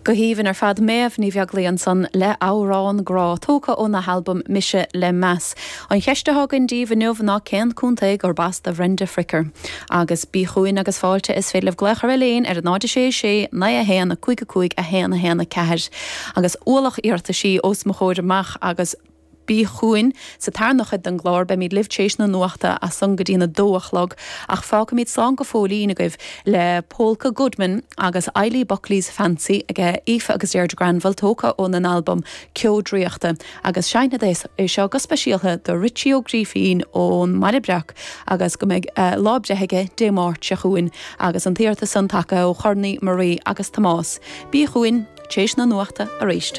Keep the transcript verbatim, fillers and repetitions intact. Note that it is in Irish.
Go haoibhinn ar fad Méabh Ní Bheaglaoich ansan le amhrán grá tógtha óna halbam Mise le Meas. An cheist atá againn daoibh inniu ná cén contae gurb as do Bhrenda Fricker. Agus bí chugainn agus fáilte is féidir libh glaoch ar an líne ar a náid sé sé naoi a haon a cúig a cúig a haon a haon a ceathair. Agus ualach iarrataisí os mo chomhair amach agus bí chugainn sa tarna cuid den gclár beimid libh tar éis na nuachta as san go dtí a dó a chlog ach fágfaimid slán go fóillín agaibh le Polka Goodman agus Eilí Buckley's Fancy ag Aoife agus Deirdre Granville tógtha óna n-albam Ceo Draíochta agus seinnfead é seo go speisialta do Richie Ó Grífín ón mBaile Breac agus go mbeidh uh, lá breithe aige Dé Máirt seo chugainn agus an t-iarratas san tagtha ó Chornaí Marie agus Tomás. Bí chugainn tar éis na nuachta arís.